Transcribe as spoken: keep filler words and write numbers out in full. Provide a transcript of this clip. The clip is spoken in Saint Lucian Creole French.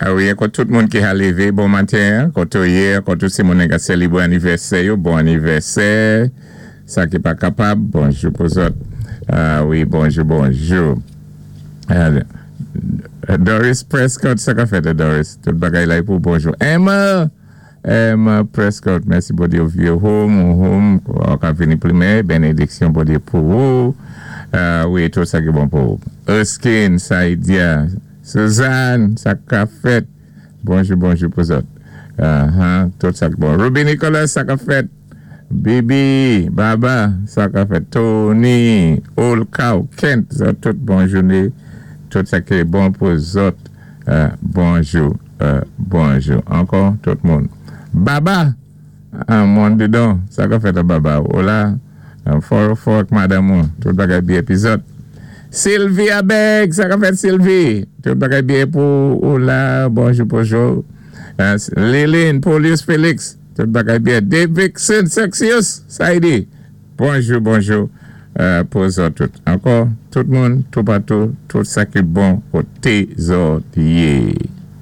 Ah wi, ankò tout moun ki ka lévé bon maten, koto yé, koto si moun ka sélébwé anivèsè yo, bon anivèsè. Sa ki pa kapab, bonjou pou zòt. Ah wi, bonjou, bonjou. Ah, Doris Prescott, sa ka fèt, Doris? Tout bagay la pou bonjou. Emma, Emma Prescott, mèsi Bondyé ou home, ou home, ou ka vini plimen, bénédiksyon Bondyé pou ou. Ah wi, tout sa ki bon pou ou. Erskine, Saïdia, Suzanne, sa ka fèt. Bonjou, bonjou pou zòt. Uh-huh, tout sa ki bon. Ruby Nicholas, sa ka fèt. Bibi, Baba, sa ka fèt. Tony, Old Cow, Kent, zòt tout bon jouné. Tout sa ki bon pou zòt. Euh, bonjou, euh, bonjou. Ankò, tout moun. Baba, an moun didan, sa ka fèt Baba. Hola, fò fò madanm, tout bagay byen pi zòt. Sylvia Begg, sa ka fèt Sylvie. Tout bagay byen pou ou la, bonjou, bonjou. Euh, Lilin, Paulius Félix, tout bagay byen. Davidson Sexius, Saidi. Bonjou, bonjou euh, pou zòt tout. Ankò, tout moun, toupatou, tout sa ki bon koté zòt yé.